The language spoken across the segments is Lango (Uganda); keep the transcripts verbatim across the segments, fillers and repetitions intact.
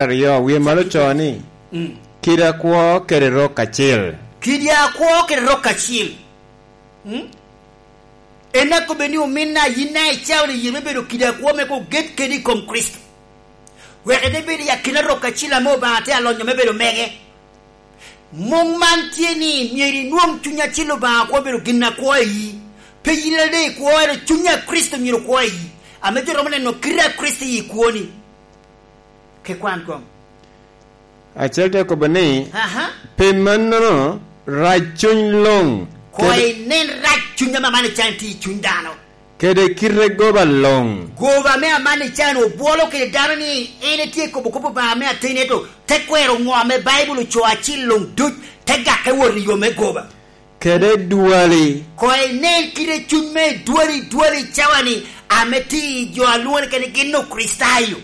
Aryo, wie malo co ni, mm, kidi akwo kede rok acil. Kidi akwo kede rok acil. Mm? En akobbe ni, ominna, yin daŋ icao ni yie me bedo kidi akwo me oget kede i kom Kricito. Wek ite bedo i akina rok acil ame Obaŋa tye alonyo me bedo mege. Muŋ man tye ni myero inwoŋ Cuny Acil Obaŋa kwo bedo gin akwo i yi. Pe yin ade ikwo, ento Cuny a Kricito myero kwo i yi, ame jo romo neno kite a Kricito i kwoni. Ke kwan koŋ. Acel te kobo ni, aha, pi mannono, rac cuny luŋ. Koŋ kede inen rac cuny ame aman ican tye i cuny dano. Kede kite goba luŋ. Goba ame aman ican obwolo kede dano ni en etye kobo kop Obaŋa me ateni, ento te kwero ŋo ame Baibul ocoo acil luŋ duc, te gakke wot i yo me goba. Kede dwali. Koŋ inen kite cuny me dwali, dwali cawa-ni, ame tye i jo a lwoŋo ni kene gin Okricitayo.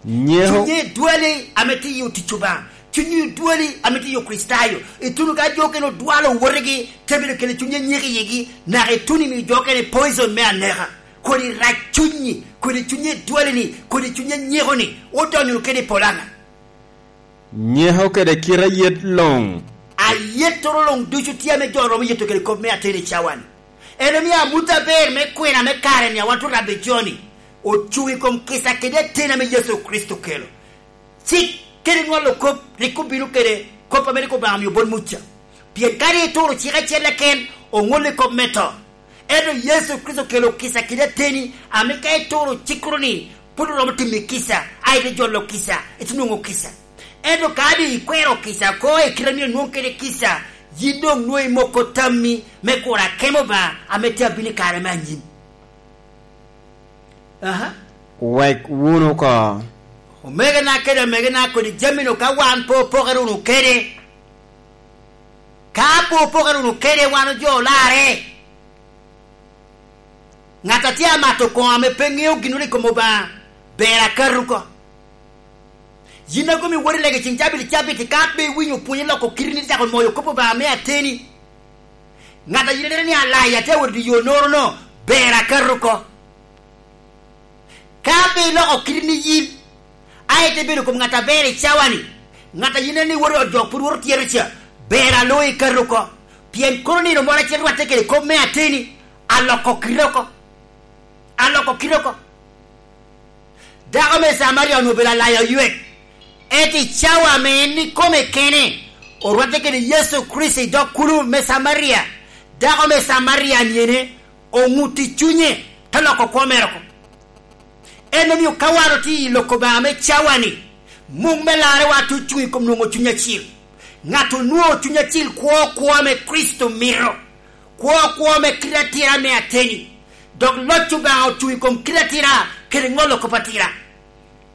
Nyeko. Cunye dwali ame tye i yo tic Obaŋa. Cunye dwali ame tye i yo Kricitayo. Ituno ka jo okene odwalo wotigi, te bedo kede cunye nyeko i yigi, naka ituno imiyo jo okene poison me aneka. Kodi rac cunyi, kodi cunye dwali-ni, kodi cunye nyeko-ni, odonyo wunu kede i polo aŋa? Nyeko kede kite ayet luŋ. Ayettoro luŋ ducu tye ame jo romo yeto kede kop me ateni cawa-ni. En omio amut aber me kwena me kare-ni a wan tye orabbe jo-ni, ocuŋ i kom kica kede ateni ame Yecu Kricito okelo. Cik kede ŋolo kop rik obino kede kop ame rik Obaŋa omio bot Muca. Pien ka rik ituro cik acel keken, oŋolli kop me to. Ento Yecu Kricito okelo kica kede ateni, ame ka ituro cikkoro-ni, pwod oromo timi kica, a ite jolo kica, ite nwoŋo kica. Ento ka doŋ ikwero kica oko i kite a myero nwoŋ kede kica, yin doŋ nwoŋo imoko tammi me kuro akemo Obaŋa ame tye abino i kare me anyim. Aha. Wek wunu oko. Omegana kede amegana, kodi jami-nu ka wan pe opokere wunu kede, ka pe opokere wunu kede, wan ojo olarre. Ŋat a tye amato koŋo ame pe ŋeo ginnoro i kom Obaŋa, ber akato oko. Yin a komi wot i lega i ceŋ cabit i cabit, ka pe iwinyo pwony i loko kiteni, icako moyo kop Obaŋa me ateni. Ŋat a yin ineno ni alaya tye awot i yo noro-no, ber akato oko. Ka pe iloko kiteni yin, a ite bedo kom ŋat aber i cawa-ni, ŋat a yin ineno ni wot i ot jo pwod woto tyero ca, ber alo ikato oko. Pien kono nino moro acel rwatte kede kop me ateni, aloko kite oko. Aloko kite oko. Dako me Camaria onwoŋo obedo alaya oywek. Ento i cawa ame en ikome kene, orwatte kede Yecu Kricito i dog kulu me Camaria, dako me Camaria-ni ene oŋut i cunye, te loko kwo mere oko. En omio ka wan otye i lok Obaŋa me cawa-ni, muŋ me larrewa tye ocuŋ i kom nwoŋo Cuny Acil. Ŋat onwoŋo Cuny Acil kwo kwo ame Kricito mito. Kwo kwo me kite atira me ateni, dok loc Obaŋa ocuŋ i kom kite atira kede ŋolo kop atira.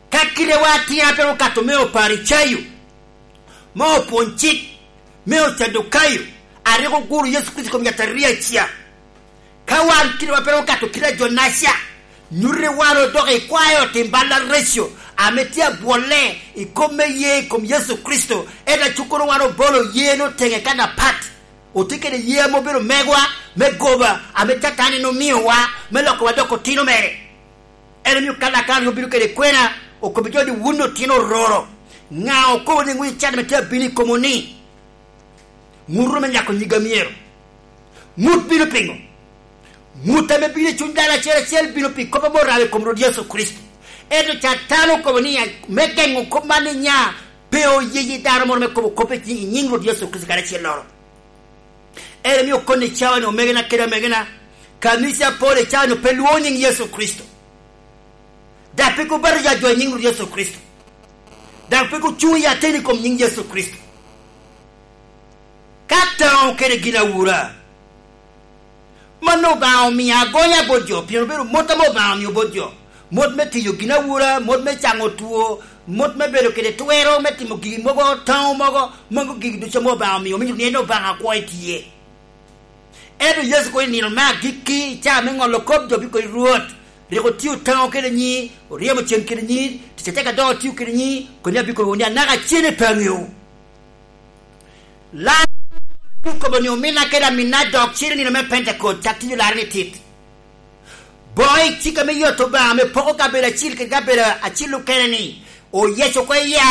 Ka kitewa atira pe okato me Oparicayo, me opwony cik, me Ocadukayo, a rik oguro Yecu Kricito i kom yataria ca, ka wan kitewa pe okato kite a jo-naca, nyuto ni wan odoko i kwayo tim bal areco ame tye abwolle i kop me ye i kom Yecu Kricito, ento acukkoro wan obolo yeno teŋe kan apat. Otye kede yee ame obedo megwa me goba, ame Catan en omiowa me lokowa doko otino mere. En omio ka Lakana obino kede kwena, okobbi jo ni, "Wun otino ororo, ŋa okobo ni ŋut Catan ame tye abino i komu ni, 'Ŋutu me nyako nyiga myero'? Ŋut bino piŋo? Ŋut ame bino i cuny dano acel acel bino pi kop ame orabo i kom Rwot Yecu Kricito." Ento Catan okobo ni, me geŋo kop man ni nya, pe oyeyi dano moro me kobo kop i nyiŋ, i nyiŋ Rwot Yecu Kricito kadi acelloro. En omio koni i cawa-ni, omegina kede amegina, kanica apol i cawa-ni pe lwoŋo nyiŋ Yecu Kricito, daŋ pe gubatija jo i nyiŋ Rwot Yecu Kricito, daŋ pe gucuŋ i ateni i kom nyiŋ Yecu Kricito. Ka taŋo kede ginawura, mano Obaŋa omio agonya bot jo, pien obedo mot ame Obaŋa omio bot jo. Mot me tiyo ginawura, mot me caŋo two, mot me bedo kede twero me timo gigi mogo, taŋo mogo, mago gigi ducu ame Obaŋa omio, omito ni en Obaŋa akwo i tye. Ento Yecu kono i nino me agikki, i caa me ŋolo kop, jo bikobo ni, "Rwot, rik otio taŋo kede nyi, oryemo cen kede nyi, tic atek adok otio kede nyi, koni abikobo ni anaka cene pe aŋeo." Lam okobo ni, "Omina kede amina dok cen i nino me Pentekote, cak tic olarre ni tit." Boŋo i cik ame yot Obaŋa ame poko kabedo acil kede kabedo acil okene ni, oyeco oko i yar